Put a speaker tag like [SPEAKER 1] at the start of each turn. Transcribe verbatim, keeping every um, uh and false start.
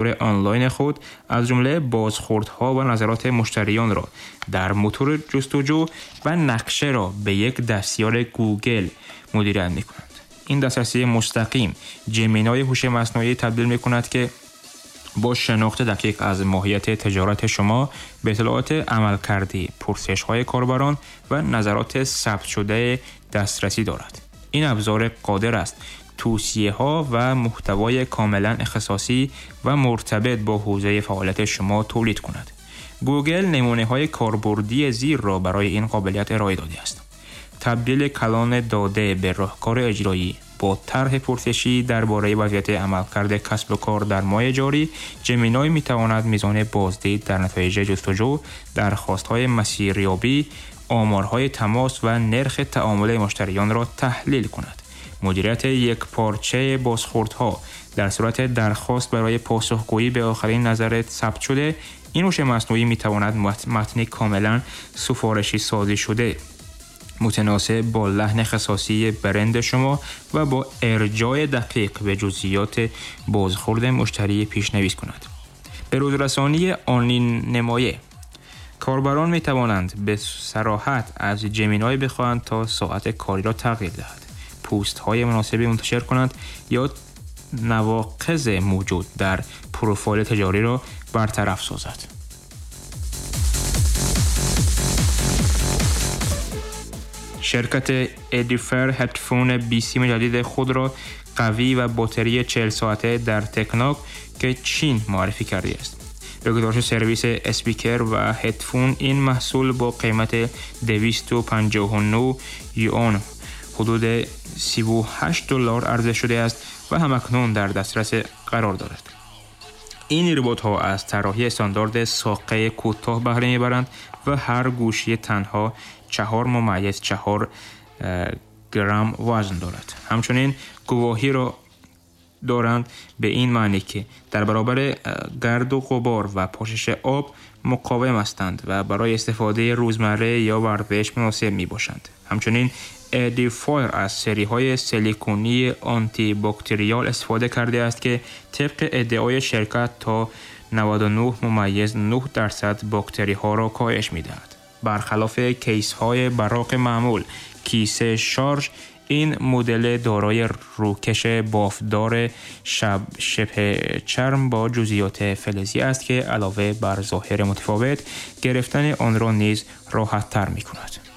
[SPEAKER 1] онлайн худ аз ҷумла бозхӯрдҳо ва назароти муштариёнро дар мотори ҷустуҷӯ ва нақшаро ба як дастёри Гугл мудирият мекунанд. Ин дастрасии мустақим Gemini ҳуши маснуӣ табдил мекунад ки бо шинохти дақиқ аз моҳияти тиҷорати шумо ба иттилооти амалкардӣ, пурсишҳои корбарон ва назароти сабтшуда дастрасӣ дорад. Ин абзор қодир аст توصیه‌ها و محتوای کاملا اختصاصی و مرتبط با حوزه فعالیت شما تولید کند. گوگل نمونه‌های کاربردی زیر را برای این قابلیت ارائه داده است. تبدیل کلان داده به راهکار اجرایی با طرح پرسشی درباره وضعیت عملکرد کسب و کار در ماه جاری، Gemini می‌تواند میزان بازدید در نتایج جستجو، درخواست‌های مسیریابی، آمارهای تماس و نرخ تعامل مشتریان را تحلیل کند. مدیریت یک پارچه بازخوردها در صورت درخواست برای پاسخگویی به آخرین نظر ثبت شده، این هوش مصنوعی می‌تواند متنی کاملا سفارشی سازی شده متناسب با لحن خصاصی برند شما و با ارجاع دقیق به جزئیات بازخورد مشتری پیشنویس کند. به روزرسانی آنی نمایه کاربران می توانند به صراحت از Gemini بخواهند تا ساعت کاری را تغییر دهد، پست های مناسبی منتشر کنند یا نواقص موجود در پروفایل تجاری را برطرف سازد. شرکت Edifier هدفون بیسیم جدید خود را قوی و باتری چهل ساعته در تکناک که چین معرفی کرده است. به گزارش سرویس اسپیکر و هدفون، این محصول با قیمت دویست و پنجاه و نه یوان حدود سی و هشت دلار عرضه شده است و همکنون در دسترس قرار دارد. این ربات‌ها از طراحی استاندارد ساقه کوتاه بهره می‌برند و هر گوشی تنها چهار ممیز چهار گرم وزن دارد. همچنین گواهی را دارند به این معنی که در برابر گرد و غبار و پاشش آب مقاوم هستند و برای استفاده روزمره یا ورزش مناسب می باشند. همچنین Edifier از سری های سیلیکونی آنتی باکتریال استفاده کرده است که طبق ادعای شرکت تا نود و نه ممیز نه درصد باکتری ها را کاهش می دهد. برخلاف کیس های براق معمول، کیسه شارژ این مدل دارای روکش بافدار شب شبه چرم با جزئیات فلزی است که علاوه بر ظاهر متفاوت، گرفتن آن را نیز راحت تر می کند.